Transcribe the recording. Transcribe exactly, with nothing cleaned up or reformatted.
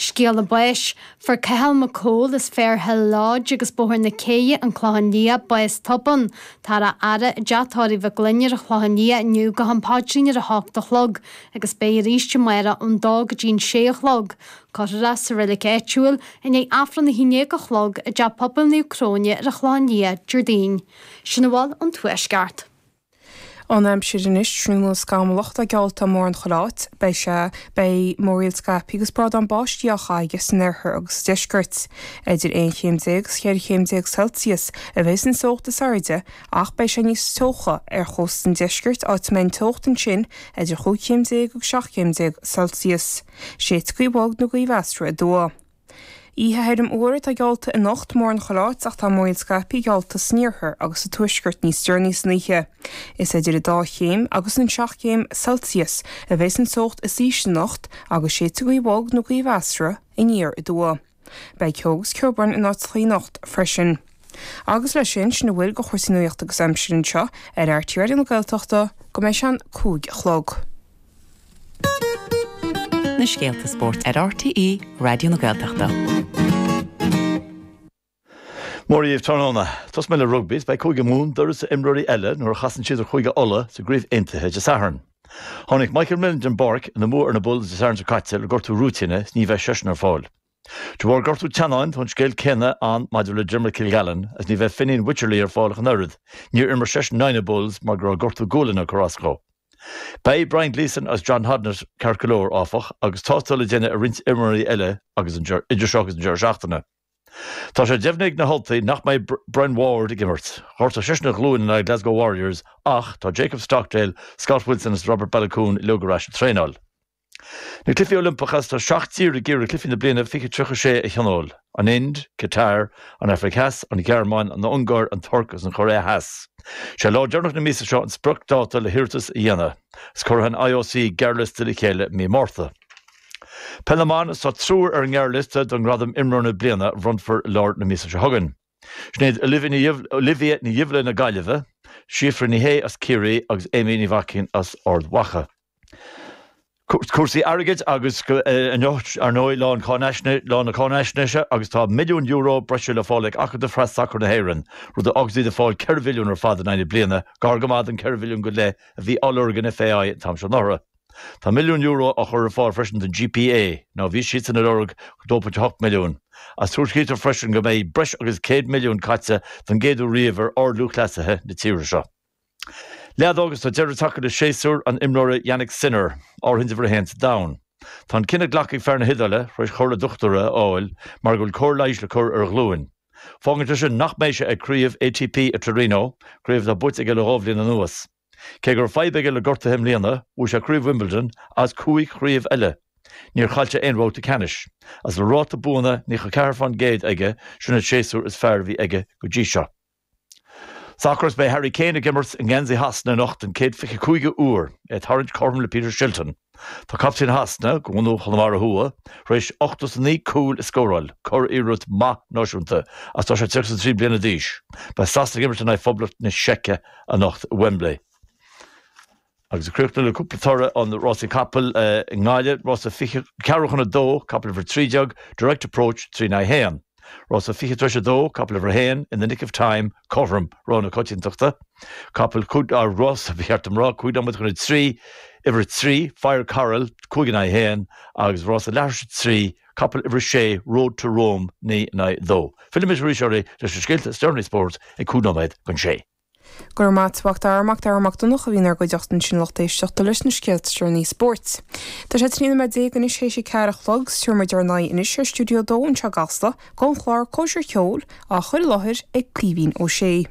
Scéala báis, Fuair Cathal McCole as Fairhill Lodge agus Bóthar na Céidhe an Clochán Liath bás tobann. Táthar á fhaire i dteach tórraimh Mhic Gloinn ar an Chlochán Liath inniu go ham paidrín ar a hocht a chlog agus beidh arís amárach ón dó go dtí an sé a chlog. Cuirfear é sa reilig áitiúil i ndiaidh Aifreann a haon déag a chlog i dteach pobail Naomh Cróine ar an Chlochán Liath Déardaoin. Sin a bhfuil ón Tuaisceart. An aimsir anois triomaithe scamallach atá geallta mórán chuile áit, beidh sé beidh múraíl scaipthe agus brádán báistí á chaitheamh san oirthear agus sa deisceart. Idir aon chéim déag agus cheithre chéim déag Celsius a bheidh an teocht is airde ach beidh sé níos teocha ar chósta an deiscirt áit a mbeidh an teocht ansin idir chúig chéim déag agus seacht chéim déag Celsius. Séidfidh gaoth bhog nó gaoth mheasartha aduaidh. Oíche thirim fhuar atá geallta anocht mórán chuile áit ach tá múraíl scaipthe geallta san iarthar agus sa tuaisceart níos deireanaí san oíche. Is idir an dá chéim agus an seacht gcéim Celsius a bheidh an teocht is ísle anocht agus séidfidh gaoth bhog nó gaoth mheasartha aniar aduaidh. Beidh ceo agus ceobhrán in áiteacha anocht freisin. Agus leis sin sin a bhfuil de chúrsaí nuachta agus aimsire anseo ar RTÉ Raidió na Gaeltachta go mbeidh sé an cúig a chlog. Na scéalta spóirt ar RTÉ Raidió na Gaeltachta. Mora dhíbh tráthnóna. Tosóidh mé le rugbaí, beidh Cúige Mumhan d'uireasa imreoirí eile nuair a chasann siad ar Chúige Uladh sa gcraobh aontaithe Dé Sathairn. Tháinig Michael Millen den bpáirc ina mbua ar na Bulls Dé Sathairn seo caite le gortú rúitíne is ní bheidh seisean ar fáil. De bharr gortú teannáin tá an scéal céanna ann maidir le Dermot Kilgallen is ní bheidh Fineen Wycherley ar fáil ach an oiread. Níor imir seisean in aghaidh na Bulls mar go raibh gortú gualainne ag cur as dó. Beidh Brian Gleeson agus John Hodnett ceart go leor áfach agus tástáil le déanamh ar roinnt imreoirí eile agus idir seo agus an deireadh seachtaine. Tá sé deimhnithe ag na hUltaigh nach mbeidh Brian Ward ag imirt. Ghortaigh seisean a ghlúin in aghaidh Glasgow Warriors ach tá Jacob Stockdale, Scott Wilson agus Robert Baloucoune uilig ar ais ag traenáil. Na Cluichí Oilimpeacha tá seacht dtír ag iarraidh Cluichí na bliana fiche tríocha sé a thionól. An Ind, Qatar, an Afraic Theas, an Ghearmáin, an Ungáir, an Tuirc agus an Chóiré Theas. Sé lá deireanach na míosa seo an spriocdháta le hiarratas a dhéanamh. Is cuirfidh an IOC gearrliosta le chéile mí Márta. Peil na mban tá triúr ar an ngearrliosta don ghradam imreoir na bliana a bhronnfar i lár na míosa seo chugainn. Sinéad Olivia Ní Dhibhle na Gaillimhe, Síofra Ní Shé as Ciarraí agus Amy Ní Mhaicín as Ard Mhacha. Cúrsaí airgid agus inniu ar ndóigh lá lá na cáinaisnéise agus tá milliún euro breise le fáil ag Acadamh Phreas-Sacair na hÉireann, rud a fhágfaidh iad ag fáil ceithre mhilliún ar fad in aghaidh na bliana, gar go maith don ceithre mhilliún go leith a bhí á lorg an FAI an t-am seo anuraidh. Tá milliún euro á chur ar fáil freisin don GPA, nó bhí siadsan ag lorg dó pointe hocht milliún. Agus tuairiscítear freisin go mbeidh breis agus céad milliún caite don gcéad uair riamh ar ardlúthchleasaithe na tíre seo. Leadóg agus tá deireadh tagtha le séasúr an imreora Jannik Sinner, áirithint uimhir a haon sa domhan. Tá an cinneadh glactha ag fear na hIodáile tar éis chomhairle dochtúra a fháil mar go bhfuil cóir leighis le cur ar a ghlúin. Fágann sé sin nach mbeidh sé ag craobh ATP i Torino, craobh atá buaite aige le dhá bhliain anuas. Cé go raibh fadhb aige le gortuithe i mbliana, bhuaigh sé craobh Wimbledon agus cúig chraobh eile. Níor chaill sé aon bhabhta ceannais. Agus le ráta buanna naocha ceathair faoin gcéad aige, sin an séasúr is fearr a bhí aige go dtí seo. Sacar is beidh Harry Kane ag imirt i ngeansaí Shasana anocht den chéad fiche cúigiú uair, é ag tarraingt cothrom le Peter Shilton. Tá captaen Shasana, de bhunadh Chonamara Thuaidh, tar éis ochtó is a naoi cúl a scóráil, curiarracht maith náisiúnta, agus tá sé tríocha is a trí bliana d'aois. Beidh Sasana ag imirt in aghaidh Phoblacht na Seice anocht i Wembley. Agus ag críochnú le cúpla toradh an rásaí capall i nGaillimh, rása fiche ceathrú chun a dó, capall uimhir a trí déag, Direct Approach, trí in aghaidh a haon. Rása fiche tar éis a dó, capall uimhir a haon, In the Nick of Time, cothrom, rogha na coitiantachta. Capall cúig, rása, ba cheart dom rá, cúig nóiméad chun a trí, uimhir a trí, Fire Coral, cúig in aghaidh a haon, agus rása leathuair tar éis a trí, capall uimhir a sé, Road to Rome, naoi in aghaidh a dó. Fillfimid arís oraibh leis na scéalta is deireanaí spóirt ag cúig nóiméad chun sé. Go raibh maith agat, a Mhac Dara, Mac Dara Mac Donncha a bhí inár gcuideachta ansin lucht éisteachta leis na scéalta is deireanaí spóirt. Tá sé trí nóiméad déag anois théis a ceathair a chlog, is tabharfaidh muid ár n-aghaidh anois ar Stiúideo a Dó anseo i gCasla, don chlár Cóisir Cheoil, á chur i láthair ag Caoimhín Ó Sé.